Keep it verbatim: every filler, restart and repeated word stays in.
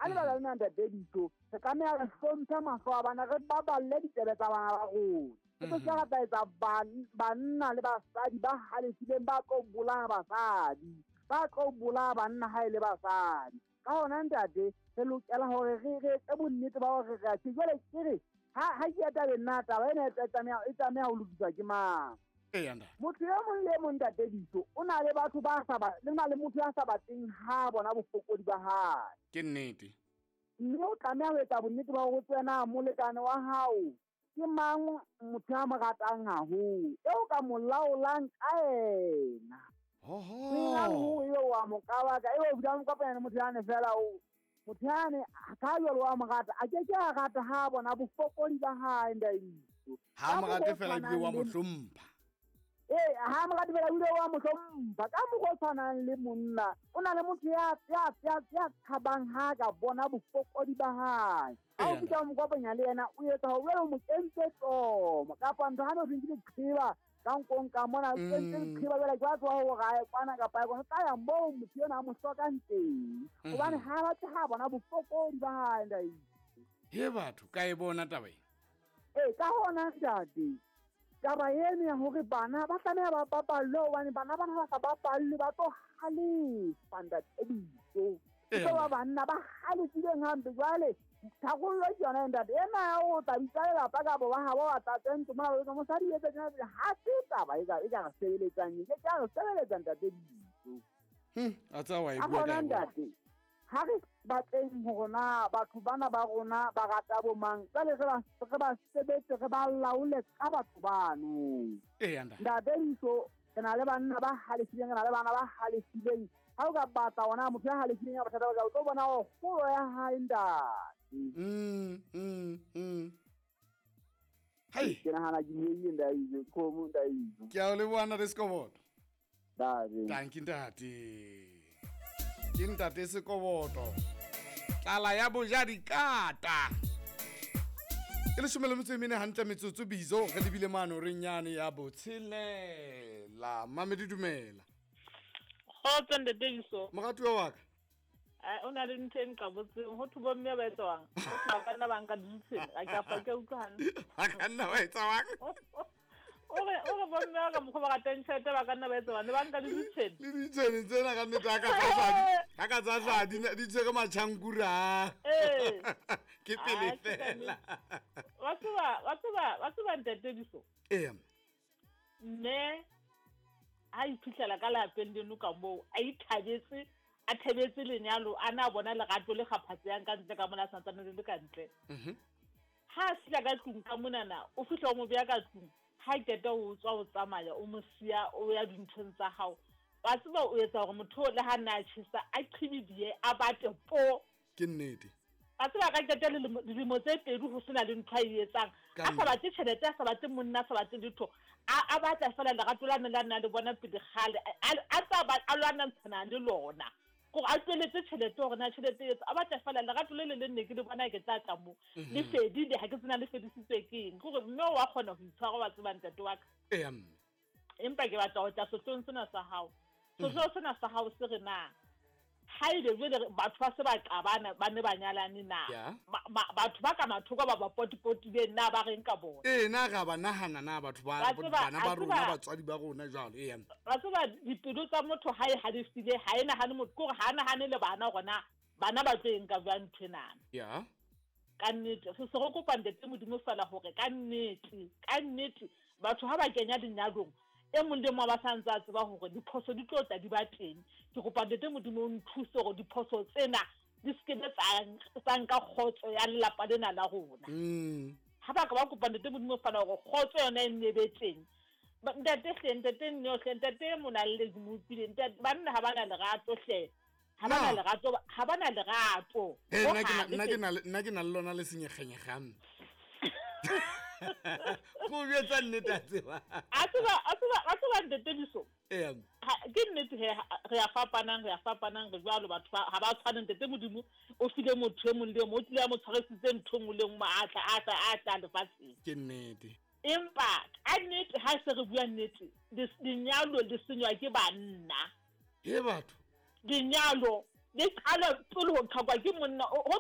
A le bala lena ntate Diso, re tlameha re hlomphe mahlo a bana, re baballe ditsebe tsa bana ba rona. Re tlo se ra etsa banna le basadi ba halefileng ba tlo bolaya basadi, ba tlo bolaya banna ha e le basadi. Ka hona ntate re lokela hore re re etse bonnete ba hore re a tjhe. Jwale ke re ha ha ke ya tabeng na taba ena e tlameha e tlameha ho lokiswa ke mang? Motho e mong le e mong ntate Diso o na le batho ba sa ba le na le motho ya sa batleng ha bona bofokodi ba hae. Ke nnete. Mme o tlameha ho etsa bonnete ba hore tsena molekane wa hao ke mang motho ya mo ratang haholo, eo ka mo laolang ka yena. Oho. Eo wa mo kabaka, eo o dula mo kopanya le motho yane fela o motho yane ka jwalo wa mo rata, a ke ke a rata ha bona bofokodi ba hae ntate. Ha mo rate fela ebile wa mo hlompha. Eh, ha mo rate fela ebile wa mo hlompha. Ka mokgwa o tshwanang le monna, o na le motho ya ya ya ya tshabang ha ka bona bofokodi ba hae. Ha o fihla o mo kopanya le yena, o etsa hore o mo kentse tlomo kapa ntho ha no thweng ke leqheba ka nkong ka mona, o kentse leqheba jwale ke batho ba hore a ye kwana kapa a ye kwana, o tla ya moo motho enwa a mo hlokang teng. Hobane ha batle ha bona bofokodi ba hae ntate. He batho, ka e bona taba e. Eh, ka hona ntate, taba eno ya hore bana ba tlameha ba bapallwe, hobane bana bana ba sa bapallwe ba tlo halefa ntate Diso. Ke ba banna ba halefileng hampe. Jwale tharollo ke yona ntate ena ya ho tla bitsa lelapa kapa ba habo ba tlatse ntlo mona ba mosadi etse tjena, ha se taba e ka e ka re sebeletsang, e ke ka re sebeletsa ntate Diso. Hm, a tsa wa e bua ka ntate. Ha re batleng hore na batho bana ba rona ba rata bo mang, jwale re ba re ba sebetse, re ba laole ka batho bano. Ee ntate. Ntate Diso, re na le banna ba halefileng, re na le bana ba halefileng. Ha o ka batla ona motho ya halefileng ya bothata ba ka, o tlo bona hore kgolo ya hae ntate. Mm, mm, mm. Hai. Ke nahana ke buile ntate, khomo ntate. Ke a o leboha ntate Sekoboto. Ntate. Thank you ntate. Ke ntate Sekoboto. Tlala ya boja dikata. E leshome le metso e mene hantle metsotso bizo re lebile mano re nyane ya botshelela. Mamedi dumela. Kgotso ntate Diso. Moratuwa wa ka. A o na le ntho e nqabotseng ho thwe bomme ba etswang. Ba ka nna ba nka ditshene, a ka fa ke utlwa hantle. Ba ka nna ba etswang. O re o re bomme ba ka mokgwa ba ratang tjhelete ba ka nna ba etswang, ne ba nka le ditshene. Le ditshene tsena ka nnete ha ka tsa hladi, ha ka tsa hladi di tshwere matjhankura. Eh. Ke pele fela. Wa tseba, wa tseba, wa tseba ntate Diso. Eh. Mme ha iphitlhela ka lapeng leno ka moo, a ithabetse, a thabetse lenyalo, a na bona lerato le kgaphatsehang ka ntle ka mona, a santsane le le ka ntle. Mhm. Ha a fihla ka tlung ka monana, o fihla o mo beha ka tlung, ha qeta o tswa o tsamaya, o mo siya, o ya dinthong tsa hao. Wa tseba o etsa hore motho le ha nna a tjhesa, a qhibidie, a bate po. Ke nnete. Wa tseba ka qeta dilemo tse pedi ho sena le ntho a e etsang. A sa batle tjhelete, a sa batle monna, a sa batle letho. A a batla fela lerato la ne la nna le bona pele kgale, a tsa ba a lwana ntshana le lona. Gore a tsweletse tjhelete hore na tjhelete e etsa, a batla fela lerato le le le nne ke le bona ke tla tla mo. Le fedile, ha ke tsena le fedisitswe ke eng. Gore mme wa kgona ho itshwara wa tseba ntate wa ka. Ee mme. Empa ke batla ho tla sehloohong sena sa hao. Sehlooho sena sa hao se re na haebe jwale batho ba se ba qabana ba ne ba nyalane na, batho ba ka mathoko ba ba potipotileng na ba reng ka bona? Ee na ra ba nahana na batho ba bana ba rona, batswadi ba rona jwalo. Ee wa tseba dipelo tsa motho ha e halefile, ha e nahane motho, ke hore ha nahane le bana hore na bana ba tlo eng ka jwang ntho enana. Ya. Ka nnete se se re kopa ntate Modimo fela hore ka nnete, ka nnete batho ha ba kenya lenyalong, e mong le mong ba sa ntse a tseba hore diphoso di tlo tla di ba teng. Ke kopa ntate Modimo o nthuse hore diphoso tsena di se ke tsa tsa nka kgotso ya lelapa lena la rona. Mm. Ha ba ka ba kopa ntate Modimo fela hore kgotso yona e nne be teng. Ntate hle, ntate nne hle, ntate mona le mo utlwile, ntate banna ha ba na lerato hle. Ha ba na lerato, ha ba na lerato. Eh, nna ke nna ke na nna ke na le lona le senyekgenyekgang. Go bjetsa nnete a tseba. A tseba, a tseba, a tseba ntate Diso. Ee. Ke nnete he, re a fapanang, re a fapanang, re jwalo batho ba ha ba tshwane. Ntate Modimo o file motho e mong le e mong, o tlile a mo tshwarisitse ntho e nngwe le nngwe, a tla, a tla, a tla lefatsheng. Ke nnete. Empa ka nnete ha se re bua nnete, lenyalo le senywa ke banna. He batho. Lenyalo Le qala pele ho qhakwa ke monna. Ho